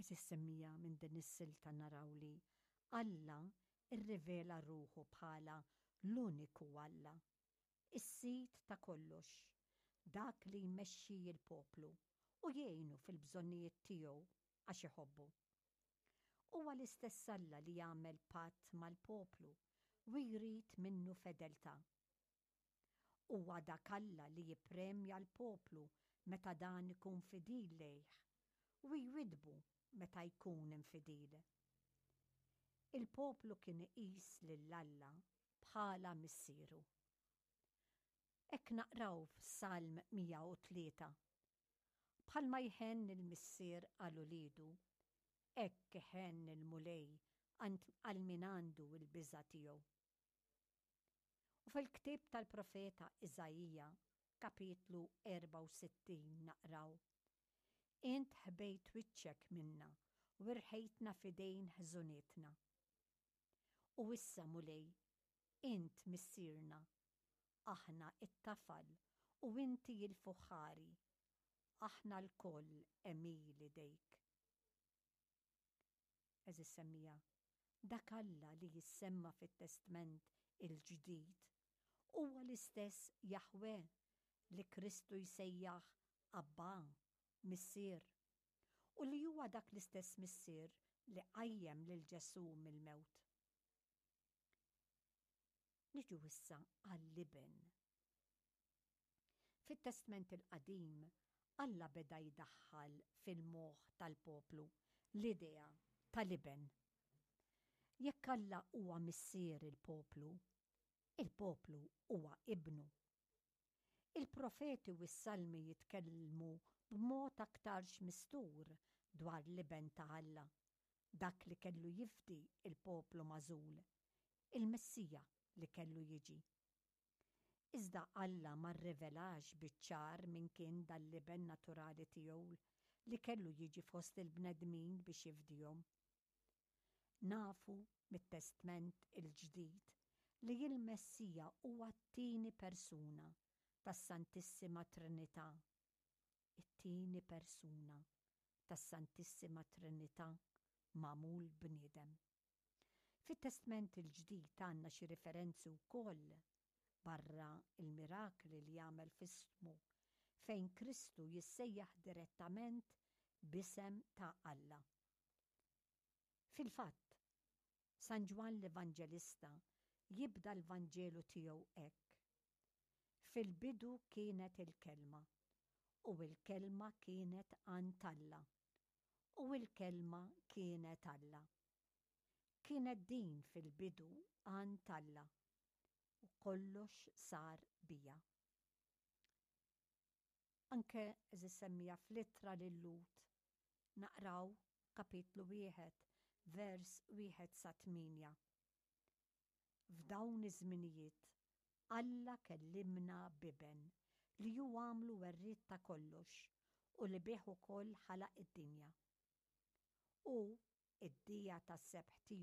Għeżież semmiegħa minn din is-silta naraw li Alla rrivela ruħu bħala l-uniku Alla, is-Sid ta' kollox, dak li jmexxi l-poplu u jgħinu fil-bżonnijiet tiegħu għax iħobbu. Huwa l-istess Alla li jagħmel patt mal-poplu u jrid minnu fedeltà. Huwa dak Alla li jippremja l-poplu meta dan ikun fidil lejh u jwiddbu meta jkun infidil. Il-poplu kien iqis lil Alla bħala missieru. Hekk naqraw f'Salm 103, Bħalma jħenn il-missier għal uliedu, hekk iħenn il-Mulej għal min għandu l-biża' tiegħu. U fil-ktieb tal-profeta Iżaija, kapitlu 64 naqraw, Int ħbejt wiċċek minna u rħejtna f'idejn ħżunietna. U issa, Mulej, int Missierna, aħna t-tafal u inti l-fuħħari, aħna lkoll għemil idejk. Għeżież semmiegħa, dak Alla li jissemma fit-Testment il-Ġdid huwa l-istess Jaħwè li Kristu jsejjaħ Abbà, Missier, u li huwa dak l-istess Missier li qajjem lil Ġesù mill-mewt. Niġu issa għall-Iben. Fit-Testment il-Qadim, Alla beda jdaħħal fil-moħħ tal-poplu l-idea tal-Iben. Jekk Alla huwa Missier il-poplu, il-poplu huwa ibnu. Il-profeti u s-salmi jitkellmu b'mod aktarx mistur dwar l-Iben ta' Alla, dak li kellu jifdi l-poplu magħżul, il-Messija li kellu jiġi. Iżda Alla ma rrivelax biċ-ċar min kien dan l-Iben naturali tiegħu li kellu jiġi fost il-bnedmin biex jifdihom. Nafu mit-Testment il-Ġdid li l-Messija huwa t-tieni persuna tas-Santissima Trinità, it-tieni persuna tas-Santissima Trinità magħmul bniedem. Fit-Testment il-Ġdid għandna xi riferenzi wkoll, barra l-mirakli li għamel f'ismu, fejn Kristu jissejjaħ direttament b'isem ta' Alla. Fil-fatt, San Ġwann l-Evanġelista jibda l-Vanġelu tiegħu hekk, Fil-bidu kienet il-Kelma, u l-Kelma kienet għand Alla, u l-Kelma kienet Alla. Kienet din fil-bidu għand Alla, u kollox sar biha. Anke għeżież semmiegħa fl-ittra lil-Lhud naqraw kapitlu wieħed vers wieħed sa tmienja. F'dawn iż-żminijiet Alla kellimna b'Iben li hu għamlu werriet ta' kollox u li bih ukoll ħalaq id-dinja. Hu, id-dija tas-sebħ tiegħu.